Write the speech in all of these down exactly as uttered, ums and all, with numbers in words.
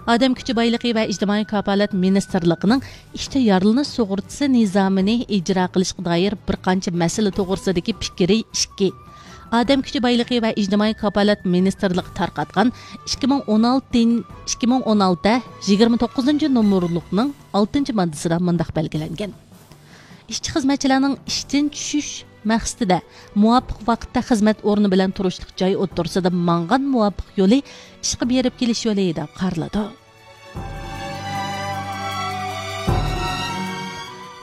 ئادەم كۈچى بايلىقى ۋە ئىجتىمائىي كاپالەت مىنىستىرلىقىنىڭ ئىشتا يارىلىنىش سۇغۇرتىسى نىزامىنى ئىجرا قىلىشقا دائىر بىر قانچە مەسىلە توغرىسىدىكى پىكرى ئىككى. ئادەم كۈچى بايلىقى ۋە ئىجتىمائىي كاپالەت مىنىستىرلىقى تارقاتقان ئىككى مىڭ ئون ئالتىنچى، ئىككى مىڭ ئون ئالتە يىگىرمە توققۇزىنچى نومۇرلۇقنىڭ ئالتىنچى ماددىسىدا مۇنداق بەلگىلەنگەن: ئىشچى خىزمەتچىلەرنىڭ ئىشتىن چۈشۈش مەقسىتىدە مۇۋاپىق ۋاقىتتا خىزمەت ئورنى بىلەن تۇرۇشلۇق جاي ئوتتۇرىسىدا ماڭغان مۇۋاپىق يولى ئىشقا بېرىپ كېلىش يولى دەپ قارىلىدۇ.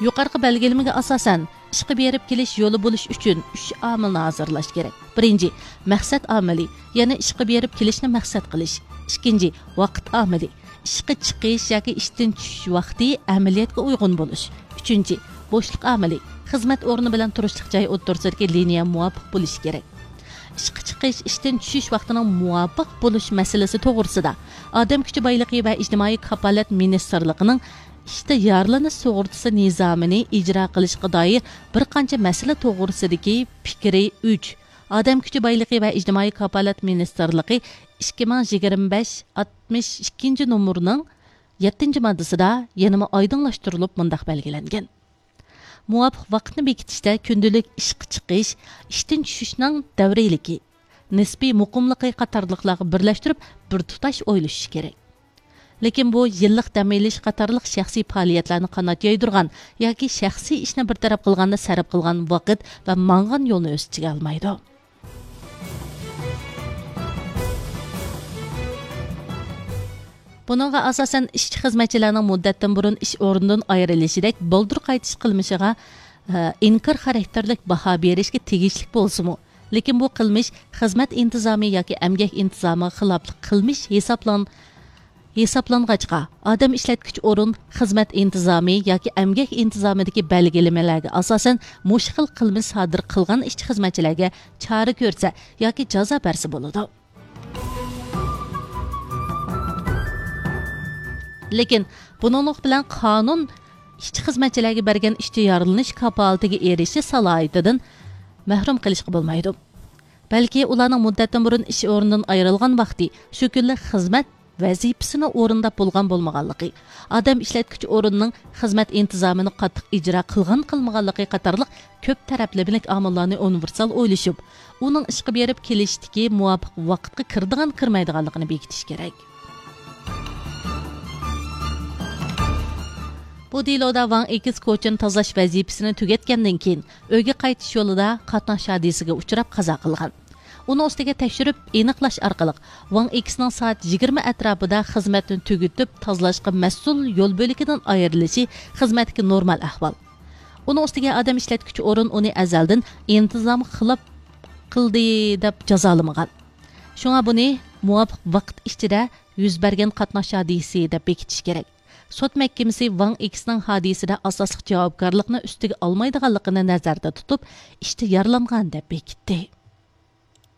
يۇقىرىقى بەلگىلىمىگە ئاساسەن، ئىشقا بېرىپ كېلىش يولى بولۇش ئۈچۈن ئۈچ ئامىلنى ھازىرلاش كېرەك. بىرىنچى، مەقسەت ئامىلى، يەنى ئىشقا بېرىپ كېلىشنى مەقسەت قىلىش. ئىككىنچى، ۋاقىت ئامىلى، ئىشقا چىقىش ياكى ئىشتىن چۈشۈش ۋاقتى ئەمەلىيەتكە ئۇيغۇن بولۇش. ئۈچىنچى، بوشلۇق ئامىلى، خىزمەت ئورنى بىلەن تۇرۇشلۇق جاي ئوتتۇرىسىدىكى لىنىيە مۇۋاپىق بولۇشى كېرەك. ئىشقا چىقىش، ئىشتىن چۈشۈش ۋاقتىنىڭ مۇۋاپىق بولۇش مەسىلىسى توغرىسىدا ئادەم كۈچى بايلىقى ۋە ئىجتىمائىي كاپالەت مىنىستىرلىقىنىڭ ئىشتا يارىلىنىش سۇغۇرتىسى نىزامىنى ئىجرا قىلىشقا دائىر بىر قانچە مەسىلە توغرىسىدىكى پىكرى ئۈچ. ئادەم كۈچى بايلىقى ۋە ئىجتىمائىي كاپالەت مىنىستىرلىقى ئىككى مىڭ يىگىرمە بەش ئاتمىش ئىككىنچى نومۇرنىڭ يەتتىنچى ماددىسىدا يەنىمۇ ئايدىڭلاشتۇرۇلۇپ مۇنداق بەلگىلەنگەن: مۇۋاپىق ۋاقىتنى بېكىتىشتە كۈندىلىك ئىشقا چىقىش، ئىشتىن چۈشۈشنىڭ دەۋرىيلىكى، نىسپىي مۇقىملىقى قاتارلىقلارغا بىرلەشتۈرۈپ بىر تۇتاش ئويلىشىش كېرەك. لېكىن بۇ يىللىق دەم ئېلىش قاتارلىق شەخسىي پائالىيەتلەرنى قانات يايدۇرغان ياكى شەخسىي ئىشنى بىر تەرەپ قىلغاندا سەرپ قىلغان ۋاقىت ۋە ماڭغان يولنى ئۆز ئىچىگە ئالمايدۇ. بۇنىڭغا ئاساسەن، ئىشچى خىزمەتچىلەرنىڭ مۇددەتتىن بۇرۇن ئىش ئورنىدىن ئايرىلىشىدەك بالدۇر قايتىش قىلمىشىغا، ئە، ئىنكار خاراكتېرلىك باھا بېرىشكە تېگىشلىك بولسىمۇ، لېكىن بۇ قىلمىش خىزمەت ئىنتىزامى ياكى ئەمگەك ئىنتىزامىغا خىلاپلىق قىلمىش ھېسابلان-، ھېسابلانغاچقا، ئادەم ئىشلەتكۈچى ئورۇن خىزمەت ئىنتىزامى ياكى ئەمگەك ئىنتىزامىدىكى بەلگىلىمىلەرگە ئاساسەن مۇشۇ خىل قىلمىش سادىر قىلغان ئىشچى خىزمەتچىلەرگە چارە كۆرسە ياكى جازا بەرسە بولىدۇ. لېكىن بۇنىڭلىق بىلەن قانۇن ئىشچى خىزمەتچىلەرگە بەرگەن ئىشتا يارىلىنىش كاپالىتىگە ئېرىشىش سالاھىيىتىدىن مەھرۇم قىلىشقا بولمايدۇ. بەلكى ئۇلارنىڭ مۇددەتتىن بۇرۇن ئىش ئورنىدىن ئايرىلغان ۋاقتى شۇ كۈنلۈك خىزمەت ۋەزىپىسىنى ئورۇنداپ بولغان بولمىغانلىقى، ئادەم ئىشلەتكۈچى ئورۇننىڭ خىزمەت ئىنتىزامىنى قاتتىق ئىجرا قىلغان قىلمىغانلىقى قاتارلىق كۆپ تەرەپلىمىلىك ئامىللارنى ئۇنىۋېرسال ئويلىشىپ، ئۇنىڭ ئىشقا بېرىپ كېلىشتىكى مۇۋاپىق ۋاقىتقا كىرىدىغان كىرمەيدىغانلىقىنى بېكىتىش كېرەك. بۇ دېلودا ۋاڭ ئېكس كوچىنى تازىلاش ۋەزىپىسىنى تۈگەتكەندىن كېيىن، ئۆيگە قايتىش يولىدا قاتناش ھادىسىسىگە ئۇچراپ قازا قىلغان. ئۇنىڭ ئۈستىگە تەكشۈرۈپ ئېنىقلاش ئارقىلىق، ۋاڭ ئېكسنىڭ سائەت يىگىرمە ئەتراپىدا خىزمەتنى تۈگىتىپ، تازىلاشقا مەسئۇل يول بۆلىكىدىن ئايرىلىشى خىزمەتتىكى نورمال ئەھۋال. ئۇنىڭ ئۈستىگە ئادەم ئىشلەتكۈچى ئورۇن ئۇنى ئەزەلدىن ئىنتىزامغا خىلاپ قىلدى دەپ جازالىمىغان. شۇڭا بۇنى مۇۋاپىق ۋاقىت ئىچىدە يۈز بەرگەن قاتناش ھادىسىسى دەپ بېكىتىش كېرەك. سوت مەھكىمىسى ۋاڭ ئېكسنىڭ ھادىسىدە ئاساسلىق جاۋابكارلىقنى ئۈستىگە ئالمايدىغانلىقىنى نەزەردە تۇتۇپ، ئىشتا يارىلانغان دەپ بېكىتتى.